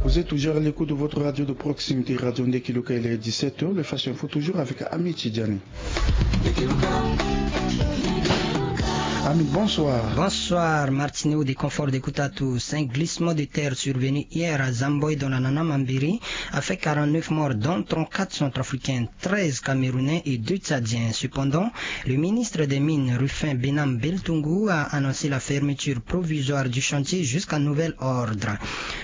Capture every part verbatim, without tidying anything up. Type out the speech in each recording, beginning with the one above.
Vous êtes toujours à l'écoute de votre radio de proximité, Radio Ndeki Luka, il est dix-sept heures, le Flash Info toujours avec Ami Tidjani. Ami, bonsoir. Bonsoir, Martineau, de confort d'écoute à tous. Un glissement de terre survenu hier à Zamboy dans la Nana Mambiri a fait quarante-neuf morts, dont trente-quatre centrafricains, treize camerounais et deux tchadiens. Cependant, le ministre des Mines, Rufin Benam Beltungu, a annoncé la fermeture provisoire du chantier jusqu'à nouvel ordre.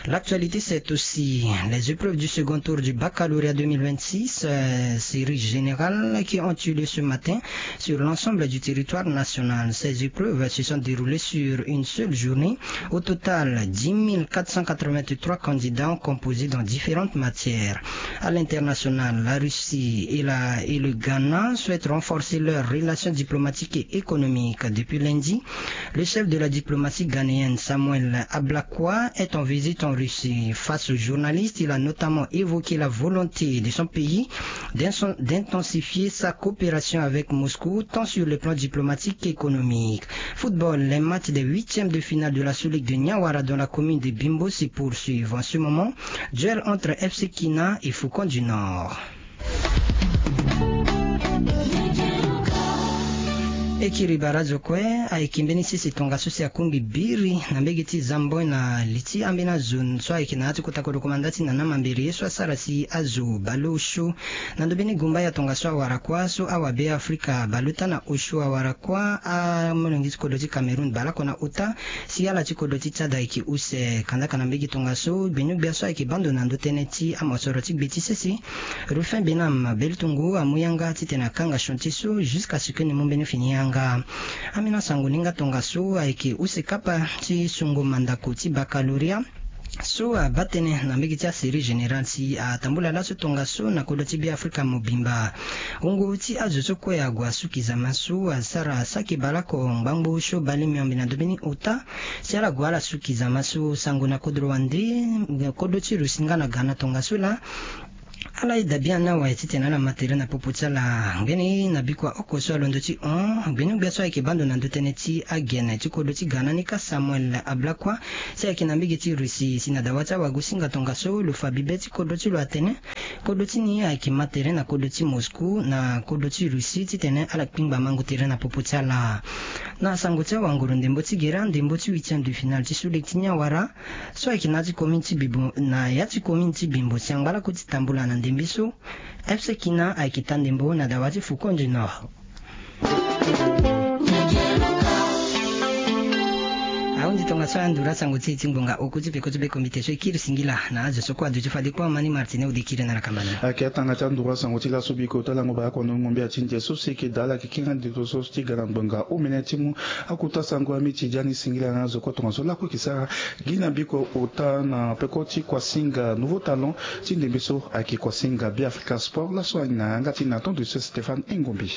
L'actualité, c'est aussi les épreuves du second tour du baccalauréat deux mille vingt-six, euh, série générale, qui ont eu lieu ce matin sur l'ensemble du territoire national. Ces épreuves se sont déroulées sur une seule journée. Au total, dix mille quatre cent quatre-vingt-trois candidats ont composé dans différentes matières. À l'international, la Russie et, la, et le Ghana souhaitent renforcer leurs relations diplomatiques et économiques. Depuis lundi, le chef de la diplomatie ghanéenne, Samuel Ablakwa, est en visite en Russie. Face aux journalistes, il a notamment évoqué la volonté de son pays d'intensifier sa coopération avec Moscou, tant sur le plan diplomatique qu'économique. Football, les matchs des huitièmes de finale de la Sous-Ligue de Niawara dans la commune de Bimbo se poursuivent. En ce moment, duel entre F C Kina et Faucon du Nord. E kiri barazo kue ayeke mbeni sese tongaso si akungbi biri na mbege ti Zamboi na li ti ambeni azo so ayeke na ya ti kota kodro komanda ti Nana Mambere ye so asara si azo bale osio na ndo mbeni gumba ya tongaso awara kuâ so awabe Afrika bale ota na osio awara kuâ amolenge ti kodro ti Cameroun bale oko na ota si ala ti kodro ti Tchad ayeke use. Kandaka na mbege tongaso gbinio-gbia so ayeke bando na ndo tënë ti amosoro ti gbe ti sese Rufin Benam Beltungu amu yanga titene akanga chantier so jusqu'à ce que ni mu mbeni fini yanga. Ambeni asango ni nga tongaso ayeke use kapa ti sungo mandako ti baccalauréat so abaa tënë na mbege ti asérie générale si atambula laso tongaso na kodro ti Beafrika mobimba. Wungo ti azo so kue ague asuki zama so asara saki bale oko ngbangbo osio bale miombe na ndo mbeni ota si ala gue ala suki zama so sango na kodro wande, kodro ti Russie nga na Ghana tongaso laa. Ala yeda biani awe titene ala ma tere na popo ti ala. Ngbene na bikua oko so alondo ti hon gbinio-gbia so ayeke bando na ndo tënë ti agene ti kodro ti Ghana ni ka Samuel Ablakwa si ayeke na mbege ti Russie si na dawa ti awagosinga tongaso lo fa bibe ti kodro ti lo atene kodro ti ni ayeke ma tere na kodro ti Moscou na kodro ti Russie titene ala kpingba mango tere na popo ti ala. Na sango ti awanguru ndembo ti gere andembo ti huitième de finale ti Sous-Ligue ti Niawara so ayeke na ya ti commune ti Bimbo, na ya ti commune ti Bimbo si angba lakue ti tambula na ndembe so F C Kina ayeke taa ndembo na dawa ti Faucon du Nord. Ahunzi tongaso aya nduru asango ti e ti ngbonga oku ti peko ti be komite so e kiri singila na azo so kue aduti fade kue amani Martine ode kiri na lakamba ni. Ayeke atanga ti anduru asango ti laso biko ti alango baa oko na ngombe ya ti nze so si e yeke daa ala yeke kiri ande to so ti ga na ngbonga omene ti mu akota sango ami ti dia ni singila na azo kue tongaso lakue e yeke sara gi na biko ota na peko ti kuasinga nouveau talon ti ndembe so ayeke kuasinga Beafrika Sport laso ayeke na yanga ti Nathan de Stéphane Engombe.